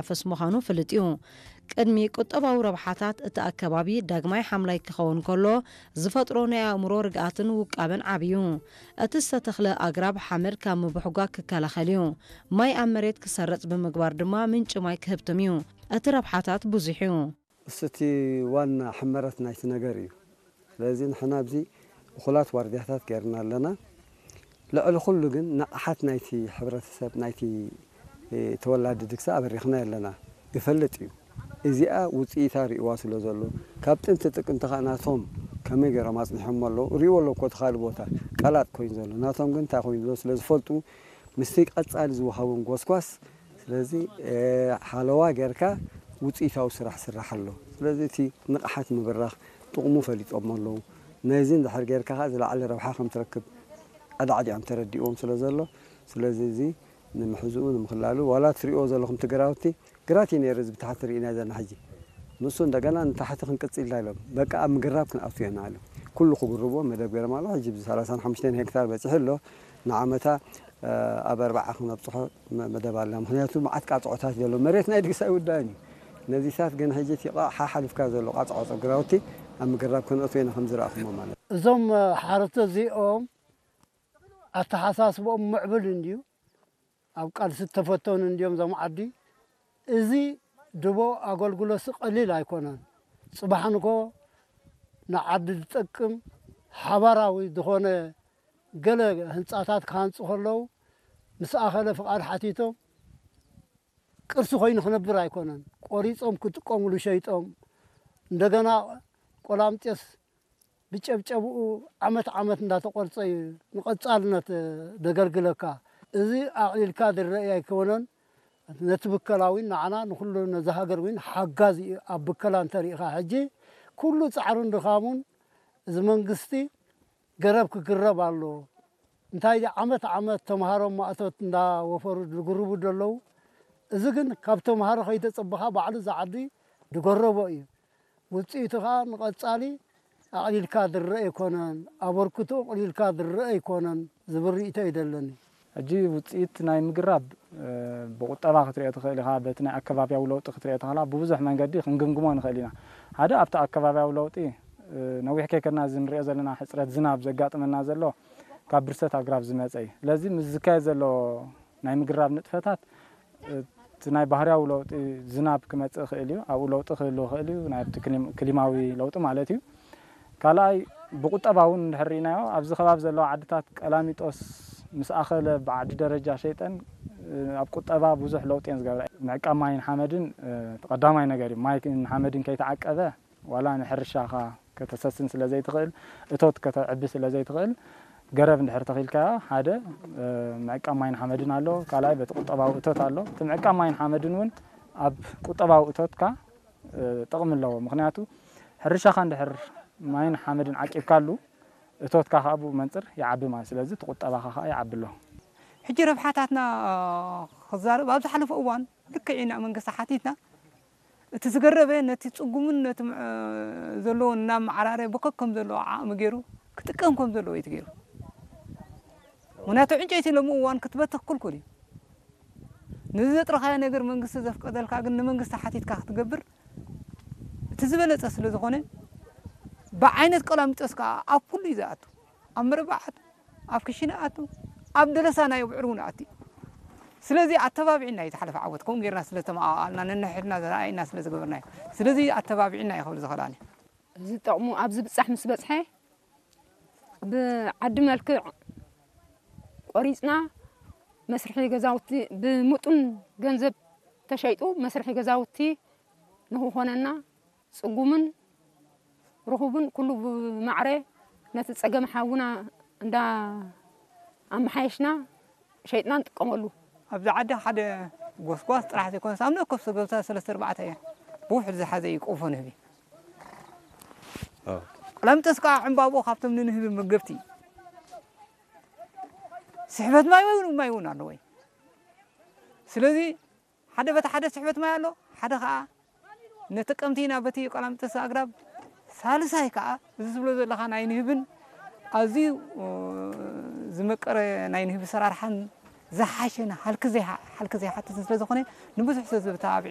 ዝናፈስ ምዃኑ ፍልጥ እዩ። ቅድሚ ቁጠባዊ ረብሓታት እቲ ኣከባቢ ዳግማይ ሓምላይ ክኸውን ከሎ ዝፈጥሮ ናይ ኣእምሮ ርግኣትን ውቃበን ዓቢ እዩ። እቲ ዝተተኽለ ኣግራብ ሓመድ ካብ ምብሕጓግ ክከላኸል እዩ። ማይ ኣብ መሬት ክሰርጽ ብምግባር ድማ ምንጪ ማይ ክህብትም እዩ። እቲ ረብሓታት ብዙሕ እዩ። እሱ እቲ ዋና ሕመረት ናይቲ ነገር እዩ። ስለዚ ንሕና ኣብዚ እኹላት ዋርድያታት ገይርና ኣለና። ልዕሊ ኩሉ ግን ንቕሓት ናይቲ ሕብረተሰብ፣ ናይቲ ተወላዲ ድግሳ ኣበሪኽና ኣለና። ይፈልጥ እዩ። እዚኣ ውፅኢታ ርእዋ ስለ ዘሎ ካብ ጥንቲ ጥቅምቲ ከዓ ናቶም ከመይ ገይሮም ኣፅኒሖም ኣለዉ ርእዎ ኣሎ እኮ እቲ ካልእ ቦታ ቀላጥ ኮይኑ ዘሎ ናቶም ግን እንታይ ኮይኑ ዘሎ ስለ ዝፈልጡ ምስቲ ቀፃሊ ዝወሃቦም ጎስጓስ ስለዚ ሓለዋ ጌርካ ውፅኢታዊ ስራሕ ስራሕ ኣሎ። ስለዚ እቲ ንቕሓት ምብራኽ ጥቕሙ ፈሊጦም ኣለዉ። ነዚ እንድሕር ጌርካ ከዓ ዝለዓለ ረብሓ ከም ትረክብ ኣዳዕዲዖም ተረዲእዎም ስለ ዘሎ ስለዚ እዚ ንምሕዝኡ ንምኽላሉ ዋላ ትሪእዎ ዘለኹም ትግራውቲ ግራት እዩ ነይሩ እዚ ብታሕቲ ርኢና ዘለና ሕጂ ንሱ እንደገና ንታሕቲ ክንቅፅል ኢሎም በቃ ኣብ ምግራብ ክንኣቱ ኢና ኢሎም ኩሉ ክጉርብዎ መደብ ገይሮም ኣለዉ ሕጂ ብ ሰላሳን ሓሙሽተን ሄክታር በፂሑ ኣሎ ንዓመታ ኣብ ኣርባዓ ክነብፅሖ መደብ ኣለና ምክንያቱ መዓት ቃፅዖታት ዘሎ መሬት ናይ ድግሳ ይውዳእን እዩ ነዚታት ግን ሕጂ እቲ ሓሓሊፍካ ዘሎ ቃፅዖ ግራውቲ ኣብ ምግራብ ክንእቱ ኢና ከም ዝረኣኹሞ ማለት እዞም ሓረስቶ እዚኦም ኣተሓሳስብኦም ምዕብል እንድዩ ኣብ ቃልሲ ዝተፈተኑ እንድዮም እዞም ዓዲ እዚ ድቦ ኣገልግሎትሲ ቀሊል ኣይኮነን ፅባሕ ንግሆ ንዓዲ ዝጠቅም ሓባራዊ ዝኾነ ገለ ህንፃታት ክሃንፁ ከለዉ ምስ ኣኸለ ፍቓድ ሓቲቶም ቅርሲ ኮይኑ ክነብር ኣይኮነን ቆሪፆም ክጥቀምሉ ሸይጦም እንደገና ቆላምጤስ ብጨብጨብኡ ዓመት ዓመት እንዳተቆርፀ እዩ ንቐፃልነት ደገልግለካ። እዚ ኣቕሊልካ ዝረአ ኣይኮነን። ነቲ ብከላዊን ንዓና ንኩሉ ነዚ ሃገር እውን ሓጋዚ እዩ ኣብ ብከላ እንተሪኢኻ። ሕጂ ኩሉ ፃዕሩን ድኻሙን እዚ መንግስቲ ገረብ ክግረብ ኣለዎ። እንታይ ዓመት ዓመት ተምሃሮ ማእቶት እንዳወፈሩ ዝግርቡ ዘለዉ። እዚ ግን ካብ ተምሃሮ ከይተፀበኻ ባዕሉ ዝዓዲ ዝገረቦ እዩ። ውፅኢቱ ከዓ ንቐፃሊ ኣቕሊልካ ዝረአ ኣይኮነን፣ ኣበርክቶ ኣቕሊልካ ዝረአ ኣይኮነን ዝብል ርኢቶ እዩ ዘለኒ። ሕጂ ውፅኢት ናይ ምግራብ ብቁጠባ ክትሪኦ ትኽእል ኢኻ፣ በቲ ናይ ኣከባቢያዊ ለውጢ ክትሪኦ ተኽእላ ብብዙሕ መንገዲ ክንግምግሞ ንኽእል ኢና። ሓደ ኣብቲ ኣከባቢያዊ ለውጢ ነዊሕ ከይከድና እዚ ንሪኦ ዘለና ሕፅረት ዝናብ ዘጋጥመና ዘሎ ካብ ብርሰት ኣግራብ ዝመፀ እዩ። ስለዚ ምስ ዝካየድ ዘሎ ናይ ምግራብ ንጥፈታት እቲ ናይ ባህርያዊ ለውጢ ዝናብ ክመፅእ ይኽእል እዩ፣ ኣብኡ ለውጢ ክህሉ ይኽእል እዩ፣ ናይ ኣብቲ ክሊማዊ ለውጢ ማለት እዩ። ካልኣይ ብቁጠባ እውን እንድሕር ርኢናዮ ኣብዚ ከባቢ ዘለዋ ዓድታት ቀላሚጦስ ምስ ኣኸለ ብዓዲ ደረጃ ሸይጠን ኣብ ቁጠባ ብዙሕ ለውጢ እየን ዝገብራ። ምዕቃብ ማይን ሓመድን ቀዳማይ ነገር እዩ። ማይን ሓመድን ከይተዓቀበ ዋላ ንሕርሻኻ ከተሰስን ስለ ዘይትኽእል፣ እቶት ከተዕቢ ስለ ዘይትኽእል፣ ገረብ እንድሕር ተኺልካዮ ሓደ ምዕቃብ ማይን ሓመድን ኣሎ፣ ካልኣይ በቲ ቁጠባዊ እቶት ኣሎ። እቲ ምዕቃብ ማይን ሓመድን እውን ኣብ ቁጠባዊ እቶትካ ጥቕሚ ኣለዎ። ምኽንያቱ ሕርሻኻ እንድሕር ማይን ሓመድን ዓቂብካሉ እቶትካ ከዓ ብኡ መንፅር ይዓቢ ማለት ስለዚ እቲ ቁጠባኻ ከዓ ይዓቢ ኣሎ። ሕጂ ረብሓታትና ክዛረብ ኣብ ዝሓለፈ እዋን ልክዕ ኢና መንግስቲ ሓቲትና እቲ ዝገረበ ነቲ ጽጉምን ነቲ ዘለዎን እናመዓራረ ብከከም ዘለዎ ዓቕሚ ገይሩ ክጥቀም ከም ዘለዎ እዩ ተገይሩ። ምክንያቱ ዕንጨይቲ ሎሚ እዋን ክትበትኽ ክልኩል እዩ። ነዚ ዘጥረኻዮ ነገር መንግስቲ ዘፍቀደልካ ግን ንመንግስቲ ሓቲትካ ክትገብር እቲ ዝበለጸ ስለ ዝኾነ ብዓይነት ቀላሚጦስ ከዓ ኣብ ኩሉ እዩ ዝኣቱ። ኣብ መረባዓት ኣብ ክሽነ ኣቱ ኣብ ደለሳ ናይ ብዕር እውን ኣቲ ስለዚ ኣተባቢዕና እዩ ዝሓለፈ ዓወት ከምኡ ጌርና ስለ ተመኣኣልና ነንሕድና ዘረኣየና ስለ ዝገበርናዮ ስለዚ ኣተባቢዕና እዩ ክብል ዝኽእል ኣነ እዚ ጠቕሙ ኣብ ዝብጻሕ ምስ በጽሐ ብዓዲ መልክዕ ቆሪጽና መስርሒ ገዛውቲ ብምጡን ገንዘብ ተሸይጡ መስርሒ ገዛውቲ ንኽኾነና ጽጉምን ርኹብን ኩሉ ብማዕረ ነቲ ጸገም ሓውና እንዳ ኣመሓየሽና ሸይጥና ንጥቀመሉ። ኣብዚ ዓዲ ሓደ ጎስጓስ ጥራሕ ዘይኮነስ ኣብ ነከፍ ሰገብታ ሰለስተ ኣርባዕተ እያ ብውሕድ ዝሓዘ እዩ ቆፎ ንህቢ። ቆላምጠስ ከዓ ዕምባብኡ ካብቶም ንንህቢ መገብቲ እዩ። ስሕበት ማይ እውን ማይ እውን ኣለዎ እዩ። ስለዚ ሓደ በቲ ሓደ ስሕበት ማይ ኣሎ፣ ሓደ ከዓ ነቲ ቀምቲ ኢና በቲ ቆላምጠስ ኣግራብ፣ ሳልሳይ ከዓ እዚ ዝብሎ ዘለኻ ናይ ንህብን ኣዝዩ ዝመቀረ ናይ ንህቢ ሰራርሓን ዝሓሸን ሃልኪ ዘይሓትትን ስለ ዝኾነ ንብዙሕ ሰብ ዝተባብዕ